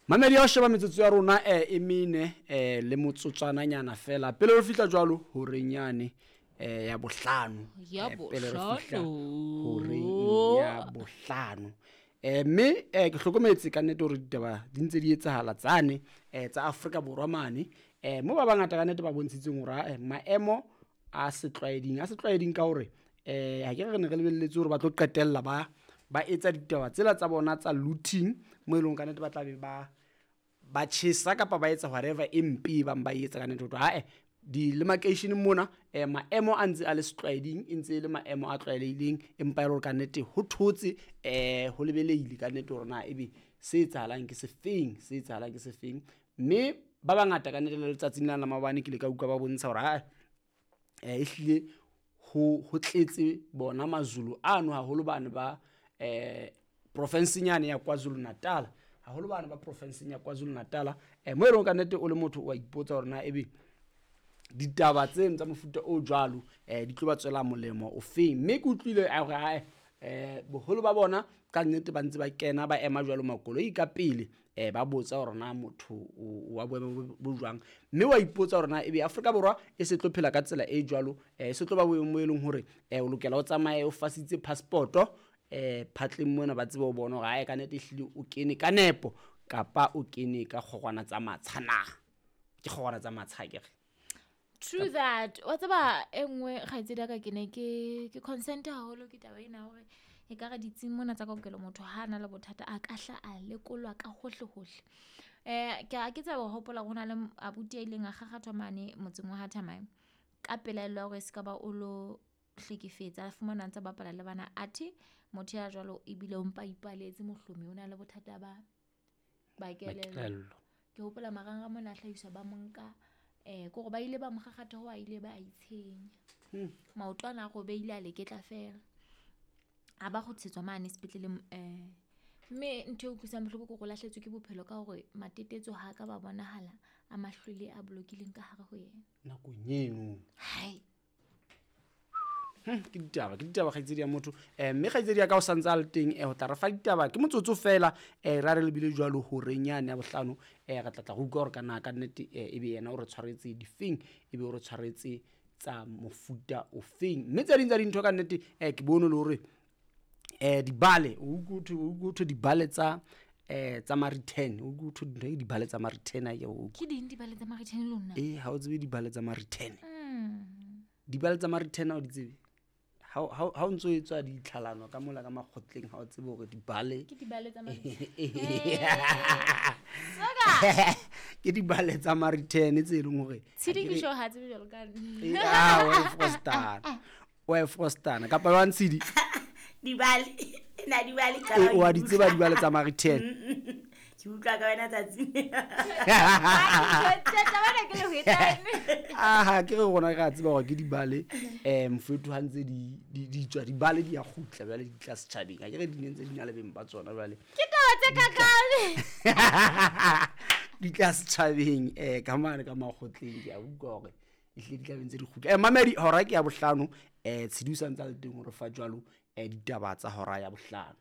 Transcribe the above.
Mamedi ya ho sheba metsotso ya rona e mene le motsotswananyana fela pele re fihla jwalo horeng yane ya bohlano. Ya Pele re fihla bohlano. horeng ya bohlano. Mme ke hlokometse ka nnete hore ditaba di ntse di etsahala tsane tsa Afrika Borwa mane, mo ba bangata ka nnete ba bontshitseng hore maemo a setlwaeding, a setlwaeding ka hore ha ke re ne re lebelletse hore ba tlo qetella ba etsa ditaba tsela tsa bona tsa looting, mo e leng ka nnete ba tla be ba tjhesa kapa ba etsa whatever e mpe e bang ba etsa ka nnete. Ho thwe, di le makeisheneng mona, maemo a ntse a le setlwaeding, e ntse e le maemo a tlwaelehileng, empa e le hore ka nnete ho thotse, ho lebelehile ka nnete hore na ebe se etsahalang ke sefeng, se etsahalang ke sefeng. Mme ba bangata ka nnete le letsatsing lena la maobane ke ile ka utlwa ba bontsha hore, ehlile ho tletse bona Mazulu ano, haholo bane ba profinseng yane ya KwaZulu Natal, haholo bane ba profinseng ya KwaZulu Natal, mo e leng ka nnete o le motho o a ipotsa hore na ebe ditaba tseno tsa mofuta o jwalo, di tlo ba tswela molemo o feng. Mme ke utlwile a hore, boholo ba bona ka nnete ba ntse ba kena ba ema jwalo makoloi ka pele, ba botsa hore na motho wa boemo bo jwang. Mme wa ipotsa hore na ebe Afrika Borwa e se tlo phela ka tsela e jwalo, e se tlo ba boemong bo e leng hore, o lokela o tsamaye o fasitse passport-o, phatleng mona ba tsebe ho bona hore ka nnete ehlile o kene ka nepo kapa o kene ka kgorwana tsa matsha na. Ke kgorwana tsa matsha akere. True that. Wa tseba e nngwe kgaitsedi ya ka, ke ne ke consent haholo ke taba ena hore e ka re ditsing mona tsa kaokelo motho ha a na le bothata a ka hla a lekolwa ka hohle hohle. Ke a ke tseba ho hopola hore ho na le abuti a ileng a kgakgathwa mane motseng wa ha Thamae ka pelaelo ya hore e se ka ba o lo hlekefetsa, a fumana a ntse a bapala le bana, athe motho ya jwalo ebile o mpa ipaletse mohlomi, o na le bothata ba kelello. Kelello. Ke hopola marangrang mona a hlahiswa ba monka, kore ba ile ba mo kgakgatha ho a ile ba a itshenya. Maoto ana a robehile a leketla fela. A ba kgutlisetswa mane sepetleleng, mme ntho e utlwisang bohloko ke hore o lahlehetswe ke bophelo ka hore matetetso ha ka ba bonahala a mahlwele a bolokileng ka hare ho yena. Nakong eno. Hai. Ke ditaba, ke ditaba kgaitsedi ya motho. Mme kgaitsedi ya ka o santse a le teng, ho tla re fa ditaba ke motsotso fela, ra re lebile jwalo horeng yane ya bohlano, re tla tla re utlwa hore ka na ka nnete, ebe yena o re tshwaretse difeng, ebe o re tshwaretse tsa mofuta ofeng. Mme tse ding tsa dintho ka nnete, ke bone le hore, dibale, o utlwe ho thwe, o utlwe ho thwe dibale tsa ma-return, o utlwe ho thwe dintho ke dibale tsa ma-return, ha ke o utlwe. Ke ding dibale tsa ma-return le lona? Ha o tsebe dibale tsa ma-return. Dibale tsa ma-return ha o di tsebe? Ha o ntso etswa ditlhalano ka mola ka makgotleng, ha o tsebe hore dibale Ke dibale tsa ma-return. Ke dibale tsa ma-return tse leng hore Tshedi ha ke ke re sure ha tsebe jwalo ka nna. Wa e frostana. Wa e frostana. Kapa jwang, Tshedi? Dibale. Na dibale qala Wa ho di di tseba utlwa. dibale tsa ma-return? Ke utlwa ka wena tsatsing. Aha, ke re rona re a tseba hore ke dibale, mofethu ha ntse di tswa, dibale di a kgutla jwale di tla setjhabeng. Ha ke re di ne ntse di na le beng ba tsona jwale. Ke taba tse kakang. Di tla setjhabeng, ka mane ka makgotleng, ke a utlwa hore ehlile di tla be ntse di kgutla. Mamedi, hora ke ya bohlano, Tshedi o sa ntse a le teng hore fa jwalo, ditaba tsa hora ya bohlano.